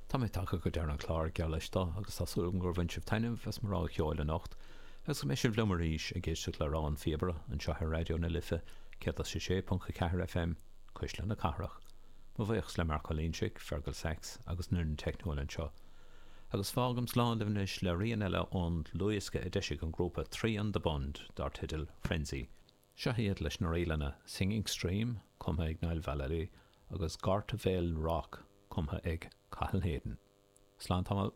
Tá mé tagtha go deireadh an chláir, geall leis do, agus tá súil agam gur bhain sibh taitneamh as mo rogha cheoil anocht, agus go mbeidh sibh liom arís ag éisteacht le Rogha an Phíobaire anseo ar Raidió na Life 106.4 FM, Cuisle na Cathrach. Mo bhuíochas le Mark Ó Loingsigh, Fergal Sachs agus an fhoireann teicniúil anseo. Agus fágaim slán libh anois le rian eile ón dlúthdhiosca a d'eisigh an grúpa Three on the Bund dar teideal Frenzy. Seo iad leis na ríleanna Singing Stream, cumtha ag Niall Vallely, agus Gorta Vale Rock, cumtha ag Cathal Hayden. Slán tamall.